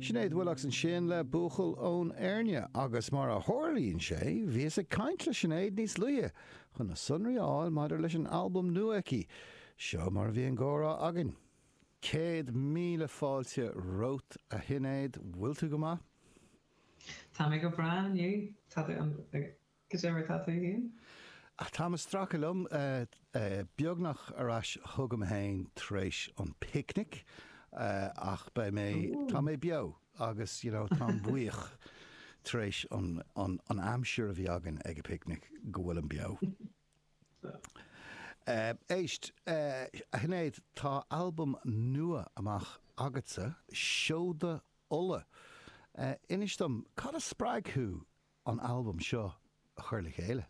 Sinéad Willox ansin le Buachaill ón Éirne agus mar a tharlaíonn sé, bhíos ag caint le Sinéad níos luaithe chun na sonraí a fháil maidir leis an albam nua aici. Seo mar a bhí an gcomhrá againn. 100,000 fáilte romhat a Shinéad, bhfuil tú go maith? Tá mé go breá inniu. Tá tú an. Cad é mar tá tú féin? Táim ag stracadh liom, beagnach ar ais chugam féin tar éis an picnic, ach beidh mé, tá mé beo agus you know táim buíoch tar éis an an aimsir a bhí againn ag an picnic go bhfuilim beo. Éist, a Shinéad, tá albam nua amach agatsa, Seoda Uladh. Inis dom, cad a spreag thú an albam seo a chur le chéile?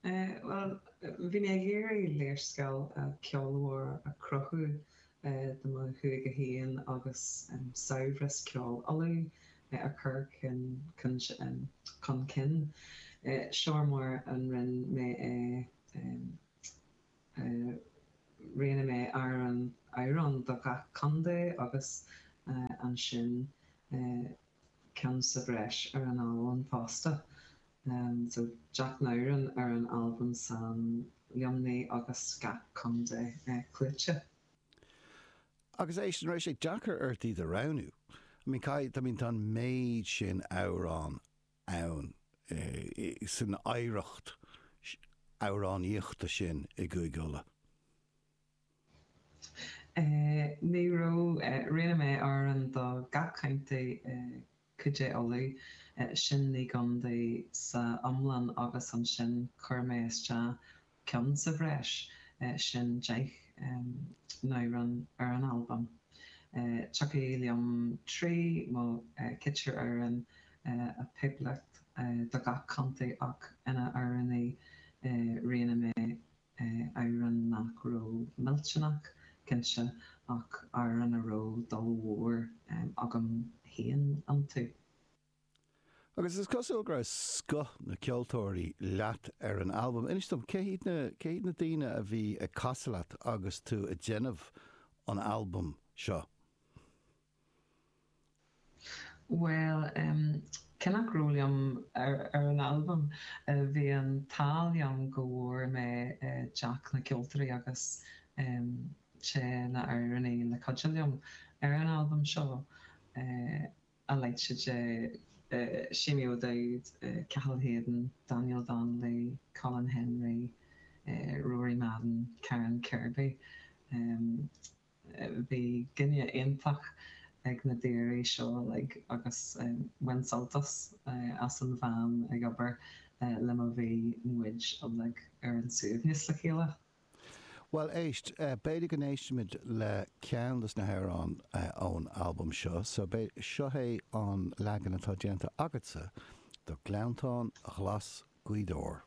Bhuel, bhí mé ag iarraidh léarscáil ceolmhar a chruthú do mo chúige féin agus saibhreas ceoil Uladh a chur chun cinn. Seo mar a rinne mé é. Roghnaigh mé amhrán amhrán do gach contae agus ansin ceann sa bhreis ar an albam fosta. So 10 n-amhrán ar an albam san Luimnigh agus gach contae clúdaithe. Agus éist, an raibh sé deacair ort iad a roghnú? I mean, caithfidh, I mean, tá an méid sin amhrán ann san oidhreacht amhránaíochta sin i gCúige Uladh. Ní raibh. Roghnaigh mé amhrán do gach contae i Cúige Uladh, sin 9 gcontae sa iomlán agus ansin chuir mé isteach ceann sa bhreis, sin 10 n-amhrán ar an albam. Tiocfaidh liom 3 nó ceithre amhrán a phiocadh do gach contae ach ina amhránaí roghnaigh mé amhrán nach raibh millteanach, cinnte, ach amhrán a raibh dul mhór agam féin iontu. Agus is cosúil go raibh scoth na ceoltóirí leat ar an albam. Inis dom, cé hiad na, cé hiad na daoine a bhí ag casadh leat agus tú ag déanamh an albaim seo? Bhuel, cé nach raibh liom ar an albam, bhí an t-ádh liom go bhfuair mé teach na ceoltóirí agus sé na amhránaí le cuidiú liom ar an albam seo, a leithéid de Seamie O'Dowd, Cathal Hayden, Daniel Donnelly, Colin Henry, Rory Madden, Karen Kirby. Bhí gine iontach ag na daoirí seo uilig agus bhain sult as as an bhean ag obair le mo bhí muid uilig ar an suaimhneas le chéile. Bhuel, éist, b'fhéidir go n-éistfimid le ceann dos na hamhráin ón albam seo, so seo é an leagan atá déanta agatsa do Gleanntán Ghlas Gaoth Dobhair.